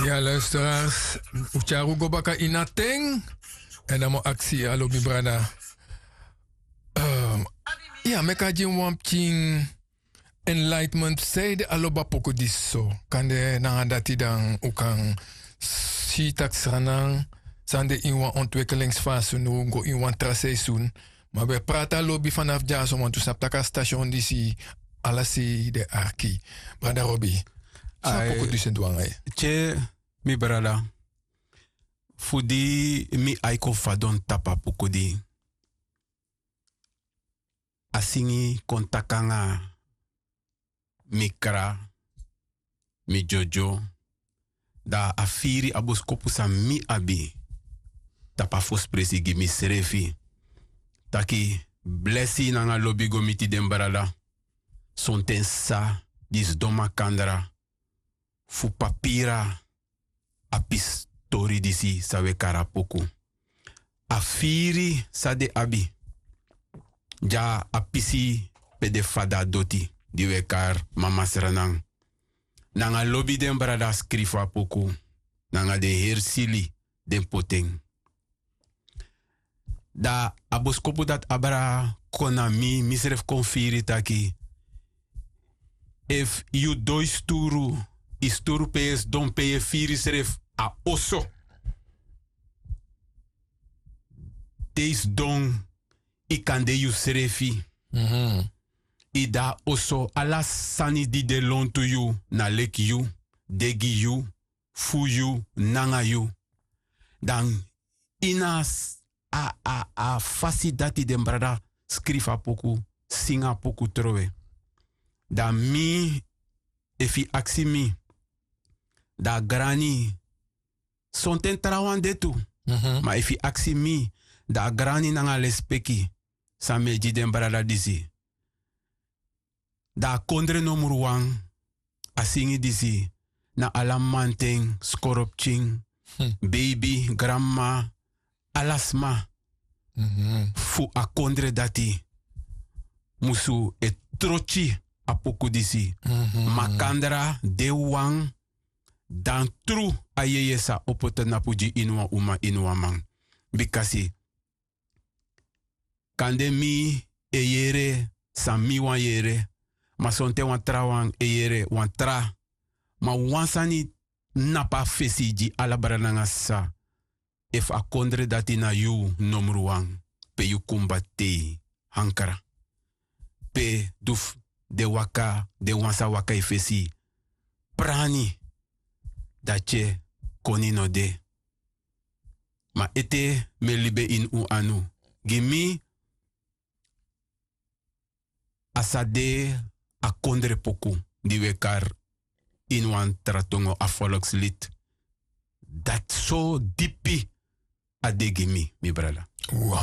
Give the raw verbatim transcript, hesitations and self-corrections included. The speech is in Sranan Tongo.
Ya luisteraars, un tyari un go baka ini a ten. Èn dan mi o aksi yu alo mi brada. Ya meki a gi mi wan pikin enlightenment saide a lobi a poku disi so. Kande nanga dati dan un kan si tak' sranan san de ini wan ontwikkelings fasi unu go ini wan tra seisun. Ma wi e prati a lobi fanafu dyaso wantu sabi tak' a station disi ala sei de arki. Brada robi, san a poku disi e du nanga yu? Tye, mi brada, fu di mi ai kon fadon tapu a poku di a singi kon taki nanga mi kra, mi dyodyo, dan a firi a boskopu san mi abi tapu a fosi presi gi misrefi. Taki blesi nanga lobi go miti den brada sonten sa di sidon makandra fu papiri a pisi tori disi san wi e kari a poku. A firi san den abi gi a pisi pe den fada doti di wi e kari mamasranan. Nanga lobi den brada skrifi a poku nanga den heri sili den poti en. Dan a boskopu dati abra kon na mi misrefi kon firi taki efu yu don yu sturu, yu sturu pe yu e sidon pe yu e firi yusrefi a oso. Te yu sidon yu kan de yusrefi. Yu de a oso ala sani di de lontu yu na leki yu, de gi yu, fu yu, nanga yu. Dan ini a a a fasi dati den brada skrifi a poku, singi a poku trowe. Dan mi, efu yu aksi mi, dan a grani, sonten trawan de tu. Ma efu yu aksi mi, dan a grani nanga lespeki san mi e gi den brada disi. Dan a kondre nomru wan, a singi disi na ala manten, skoropikin, beibi, granmama, ala sma fu a kondre dati musu e trotyi a poku disi. Makandra de wan, dan tru a yeye sa opo tnapu gi ini wan uma ini wan man. Bikasi kande mi e yere san mi wani yere, ma sonten wan trawan e yere wan tra. Ma wan sani tnapu a fesi gi ala brada nanga sisa. Efu a kondre dati na yu nomru wan, pe yu kumba tei hankra, pe du fu den waka den wan sa waka yu fesi prani, dan tye koni no de. Ma ete mi e libi en ini un anu, gi mi a sa de a kondre poku di wi e kari ini wan tra tongo a folkslid. Dati so dipi a de gi mi, mi brada.